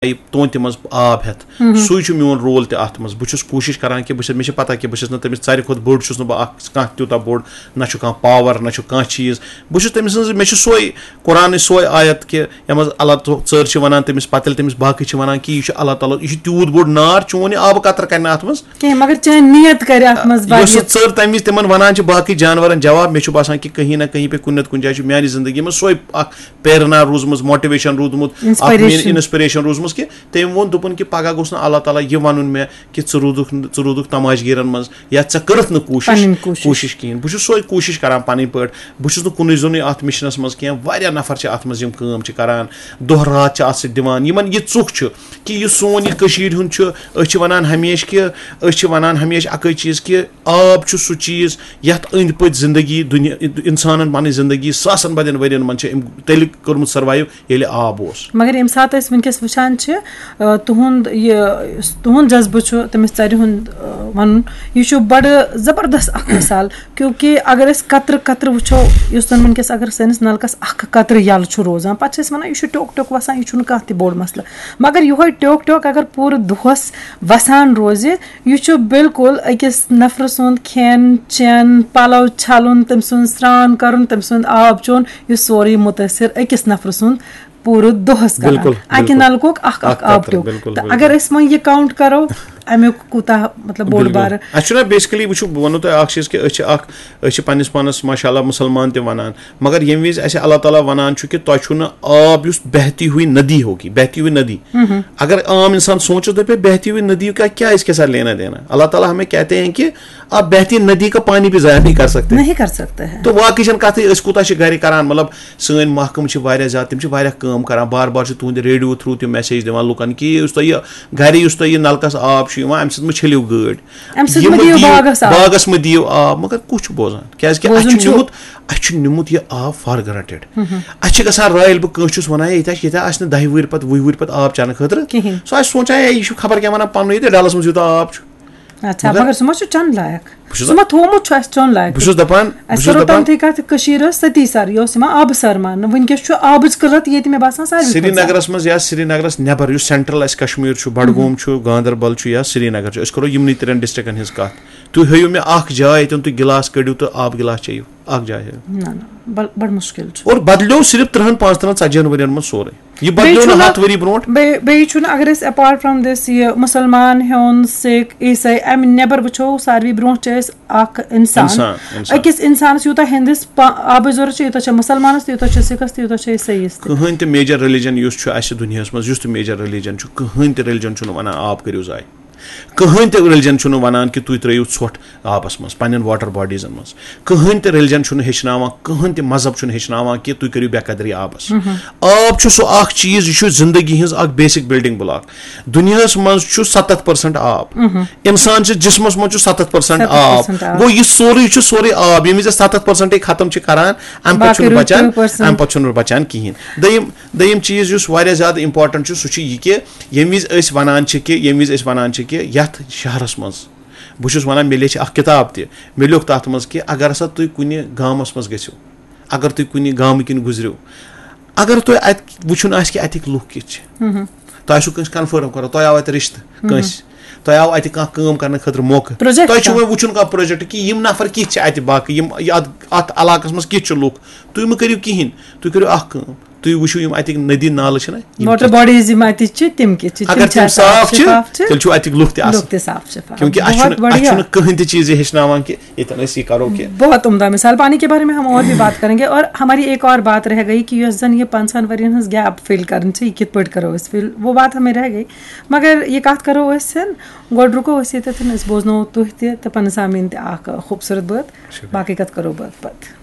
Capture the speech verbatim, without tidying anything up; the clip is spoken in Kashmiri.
یہِ تونتہِ منٛز آب ہٮ۪تھ۔ سُے چھُ میون رول تہِ اَتھ منٛز۔ بہٕ چھُس کوٗشِش کران کہِ بہٕ چھُس، مےٚ چھِ پتہ کہِ بہٕ چھُس نہٕ تٔمِس ژَرِ کھۄتہٕ بوٚڑ چھُس نہٕ بہٕ اَکھ، کانٛہہ تیوٗتاہ بوٚڑ، نہ چھُ کانٛہہ پاور، نہ چھُ کانٛہہ چیٖز۔ بہٕ چھُس تٔمۍ سٕنٛز، مےٚ چھُ سۄے قرآنٕچ سۄے آیت کہِ یَتھ منٛز اللہ تعالیٰ ژٔر چھِ وَنان تٔمِس، پَتہٕ ییٚلہِ تٔمِس باقٕے چھِ وَنان کہِ یہِ چھُ اللہ تعالیٰ، یہِ چھُ تیوٗت بوٚڑ نار، چون یہِ آبہٕ قطرٕ کَرِ نہٕ اَتھ منٛز۔ کینٛہہ، مگر چٲنۍ نیت کَرِ اَتھ منٛز یۄس سُہ واریاہ۔ ژٔر تَمہِ وِزِ تِمن وَنان چھِ باقٕے جانورن جواب، مےٚ چھُ باسان کہِ کہیں نہ کہیں پہ کُنہِ نتہٕ کُنہِ جایہِ چھُ میانہِ زندگی منٛز سۄے اکھ پیرنا روٗزمٕژ، موٹیویشن روٗدمُت، اکھ مین Inspiration۔ انسپریشن روٗزمٕژ کہِ تٔمۍ ووٚن، دوٚپُن کہِ پگاہ گوٚژھ نہٕ اللہ تعالیٰ یہِ وَنُن مےٚ کہِ ژٕ روٗدُکھ، ژٕ روٗدُکھ تماش گیٖرن منٛز یا ژےٚ کٔرٕتھ نہٕ کوٗشِش، پنٕنۍ کوٗشِش۔ کوٗشِش کِہیٖنۍ۔ بہٕ چھُس سۄے کوٗشِش کران پنٕنۍ پٲٹھۍ۔ بہٕ چھُس نہٕ کُنُے زوٚنُے اتھ مِشنس منٛز کینٛہہ، واریاہ نفر چھِ اتھ منٛز یِم کٲم چھِ کران، دۄہ راتھ چھِ اتھ سۭتۍ دِوان۔ یِمن یہِ ژُکھ چھُ کہِ یہِ سون یہِ کٔشیٖرِ ہُنٛد چھُ، أسۍ چھِ ونان ہمیشہِ کہِ، أسۍ چھِ ونان ہمیشہِ اکٕے چیٖز کہِ آب چھُ سُہ چیٖز یتھ أنٛدۍ پٔتۍ زندگی دُنیا، انسانن پنٕنۍ زندگی ساسن بدٮ۪ن ؤرین منٛز چھِ أمۍ تیٚلہِ کوٚرمُت survive ییٚلہِ آب اوس۔ مگر ییٚمہِ ساتہٕ أسۍ وٕنکیٚس وٕچھان چھِ، آ، تُہُنٛد یہِ، تُہُنٛد جذبہٕ چھُ تٔمِس ژَرِ ہُنٛد، آ، وَنُن، یہِ چھُ بَڑٕ زبردست اکھ مثال، کیونکہ اگر أسۍ قطرٕ قطرٕ وٕچھو، یُس زَن وٕنکیٚس اگر سٲنِس نَلکَس اکھ قطرٕ یَلہٕ چھُ روزان، پَتہٕ چھِ أسۍ وَنان، یہِ چھُ ٹیوٚک ٹیوٚک وَسان، یہِ چھُنہٕ کانٛہہ تہِ بوٚڑ مسلہٕ۔ مگر یِہوٚے ٹیوٚک ٹیوٚک اگر پوٗرٕ دۄہَس وَسان روزِ، یہِ چھُ بالکل أکِس نفرٕ سُنٛد کھٮ۪ن چٮ۪ن، پَلَو چھَلُن، تٔمۍ سُنٛد سرٛان کَرُن، تٔمۍ سُنٛد آب چیوٚن، یہِ سورُے مُتٲثِر أکِس نفرٕ سُنٛد پوٗرٕ دۄہَس کران۔ بِلکُل، اَکہِ بِلکُل۔ نَلکُک اَکھ اَکھ اَکھ آب قطرٕ، ٹیوٚک۔ بِلکُل، تہٕ بِلکُل۔ اگر أسۍ وۄنۍ یہِ count کَرو، اَمیُک کوٗتاہ، مطلب، بوٚڑ بِلکُل۔ بارٕ۔ اَسہِ چھُنہ basically، وٕچھِو، بہٕ وَنو تۄہہِ اَکھ چیٖز کہِ أسۍ چھِ اَکھ، أسۍ چھِ پنٛنِس پانَس ماشاء اللہ مُسلمان تہِ وَنان، مگر ییٚمہِ وِزِ اَسہِ اللہ تعالیٰ وَنان چھُ کہِ تۄہہِ چھُو نہٕ آب یُس بہتی ہوئی ندی ہوگی، بہتی ہوئی ندی۔ اگر عام اِنسان سونٛچہِ، دَپہِ، بہتی ہوئی ندی کا کیا اس کے ساتھ لینا دینا؟ اللہ تعالیٰ ہمیں کہتے ہیں کہ آپ بہتی ندی کا پانی بھی ضائع نہیں کر سکتے۔ نہیں کر سکتے ہیں۔ تو واقعی چھَنہٕ کَتھٕے، أسۍ کوٗتاہ چھِ گَرِ کَران، مطلب، سٲنۍ محکمہٕ چھِ واریاہ زیادٕ، تِم چھِ واریاہ کٲم کَران، بار بار چھِ تُہٕنٛدِ radio through تِم message دِوان لُکَن کہِ یُس تۄہہِ یہِ گَرِ، یُس تۄہہِ یہِ نَلکَس آب چھُ یِوان، اَمہِ سۭتۍ مہٕ چھٔلِو گٲڑۍ۔ اَمہِ سۭتہِ یہِ مہٕ مہٕ دِیِو دِیِو، باغَس آب۔ باغَس مہٕ دِیِو آب۔ مگر کُس چھُ بوزان؟ کیٛازِکہِ اَسہِ بوزُن چھُ چھُ۔ نیوٗمُت، اَسہِ چھُ نیوٗمُت یہِ آب for granted۔ اَسہِ چھِ گژھان رایل، بہٕ کٲنٛسہِ چھُس وَنان، ہے، ییٚتہِ آسہِ، ییٚتہِ آسہِ نہٕ دَہہِ وُہٕرۍ پَتہٕ، وُہہِ وُہٕرۍ پَتہٕ آب چٮ۪نہٕ خٲطرٕ۔ کِہیٖنۍ۔ سُہ آسہِ سونٛچان، ہے، یہِ چھُ خبر کیٛاہ وَنان پَنُن، ییٚتہِ ڈَلَس منٛز یوٗتاہ آب چھُ۔ اچھا، مگر مگر سُہ ما چھُ چَنہٕ لایق؟ بہٕ چھُس سُہ ما تھوٚومُت چھُ اَسہِ چیوٚن لایق؟ بہٕ چھُس دَپان، بہٕ اَسہِ چھُس کَرو دَپان تَمہِ تھٕے کَتھ، کٔشیٖر ٲس ستی سَر، یہِ اوس یِوان آبہٕ سَر ماننہٕ۔ وٕنکیٚس چھُ آبٕچ قٕلت ییٚتہِ، مےٚ باسان، ساروی کھۄتہٕ زیادٕ۔ سرینگرَس منٛز یا سرینگرَس نٮ۪بر یُس central اَسہِ کشمیٖر چھُ، بڈگوم چھُ، گاندربل چھُ یا سرینگر چھُ، أسۍ کَرو یِمنٕے ترٛٮ۪ن districtن ہٕنٛز کَتھ۔ تُہۍ ہٲیِو مےٚ اَکھ جاے، ییٚتٮ۪ن تُہۍ گِلاس کٔڑِو تہٕ آبہٕ گِلاس چیٚیِو۔ اَکھ جاے ہٲیِو۔ نہ، نہ، بڑ-، بڑٕ مُشکِل چھُ۔ اور بدلیو صرف ترٛہَن، پانٛژترٕٛہَن، ژتجی ہَن ؤرین منٛز سورُے۔ یہِ بدلیو بیٚیہِ نہٕ چھُنہٕ، ہَتھ ؤری برونٛٹھ۔ بیٚیہِ، بیٚیہِ چھُنہٕ، اگر أسۍ apart from this یہِ مُسلمان ہیوٚن، سِکھ، عیٖسٲے، اَمہِ نٮ۪بر وٕچھو، ساروی برونٛٹھ چھِ أسۍ اکھ اِنسان۔ اِنسان، اِنسان۔ أکِس اِنسانَس یوٗتاہ ہِندِس پا-، آبٕچ ضوٚرَتھ چھِ، یوٗتاہ چھِ مُسلمانَس تہِ، یوٗتاہ چھِ سِکھَس تہِ، یوٗتاہ چھِ عیٖسٲیِس تہِ۔ کٕہٕنۍ تہِ major religion یُس چھُ اَسہِ دُنیاہَس منٛز، یُس تہِ major religion چھُ، کٕہٕنۍ تہِ religion چھُنہٕ وَنان آب کٔرِو ضایع۔ کٕہٕنۍ تہِ religion چھُنہٕ وَنان کہِ تُہۍ ترٛٲیِو ژھۄٹھ آبَس منٛز، پنٛنٮ۪ن water bodiesن منٛز۔ کٕہٕنۍ تہِ religion چھُنہٕ ہیٚچھناوان، کٕہٕنۍ تہِ مذہب چھُنہٕ ہیٚچھناوان کہِ تُہۍ کٔرِو بے قدری آبَس۔ آب چھُ سُہ اَکھ چیٖز، یہِ چھُ زِندگی ہٕنٛز اَکھ basic building block۔ دُنیاہَس منٛز چھُ ستتھ percent آب۔ اِنسان چھِ جسمَس منٛز چھُ ستتھ percent آب۔ ستتھ percent آب۔ گوٚو، یہِ سورُے چھُ سورُے آب۔ ییٚمہِ وِزِ أسۍ ستتھ percent ختم چھِ کران، اَمہِ پَتہٕ باقٕے چھُنہٕ روٗد بَچان، ترٕٛہ percent۔ اَمہِ پَتہٕ چھُنہٕ بَچان کِہیٖنۍ۔ دوٚیِم، دوٚیِم چیٖز یُس واریاہ زیادٕ important چھُ، سُہ چھُ یہِ کہِ ییٚمہِ وِزِ أسۍ وَنان چھِ کہِ، ییٚمہِ وِزِ أسۍ وَنان چھِ کہِ یَتھ شہرَس منٛز، بہٕ چھُس وَنان، مےٚ لیٚچھ اَکھ کِتاب تہِ، مےٚ لیوٚکھ تَتھ منٛز کہِ اگر ہسا تُہۍ کُنہِ گامَس منٛز گٔژھِو، اگر تُہۍ کُنہِ گامہٕ کِنۍ گُزرِو، اگر تۄہہِ اَتہِ وٕچھُن آسہِ کہِ اَتِکۍ لُکھ کِتھ چھِ، تۄہہِ آسِوٕ کٲنٛسہِ confirm کَرُن، تۄہہِ آو اَتہِ رِشتہٕ کٲنٛسہِ، تۄہہِ آو اَتہِ کانٛہہ کٲم کَرنہٕ خٲطرٕ موقعہٕ، Project تۄہہِ چھُ کانٛہہ۔ وۄنۍ وٕچھُن کانٛہہ project کہِ یِم نفر کِتھ چھِ اَتہِ باقٕے، یِم یہِ اَتھ، اَتھ علاقَس منٛز کِتھ چھِ لُکھ، تُہۍ مہٕ کٔرِو کِہیٖنۍ، تُہۍ کٔرِو اَکھ کٲم، تُہۍ وٕچھِو یِم اَتِکۍ ندی نالہٕ چھِنہ، یِم water کِتھ bodies یِم اَتہِ چھِ، تِم کِتھ چھِ، اگر تِم تِم چھا صاف صاف چھِ، شِفاف چھِ؟ تیٚلہِ چھُو اَتِکۍ لُکھ تہِ اَصٕل۔ لُکھ تہِ صاف شِفاف۔ کیونکہ اَسہِ بہت چھُنہٕ، اَسہِ بڑھیا۔ چھُنہٕ کٕہٕنۍ تہِ چیٖز یہِ ہیٚچھناوان کہِ ییٚتٮ۪ن أسۍ یہِ کَرو کہِ۔ بہت عمدہ مثال۔ پانی کے بارے میں ہم اور بھی بات کریں گے اور ہماری ایک اور بات رہ گئی کہ یۄس زن یہِ پنٛژاہن ؤرین ہٕنٛز gap fill کرٕنۍ چھِ، یہِ کِتھ پٲٹھۍ کرو أسۍ fill، وہ بات ہمیں رہ گئی۔ مگر یہِ کتھ کرو أسۍ، گۄڈٕ رُکو أسۍ ییٚتٮ۪تھ، أسۍ بوزناوو تُہۍ تہِ تہٕ پنٕنۍ سامعیٖن تہِ اکھ خوٗبصوٗرت بٲتھ۔ شُکریہ۔ باقٕے کتھ کرو بٲتھ پتہٕ۔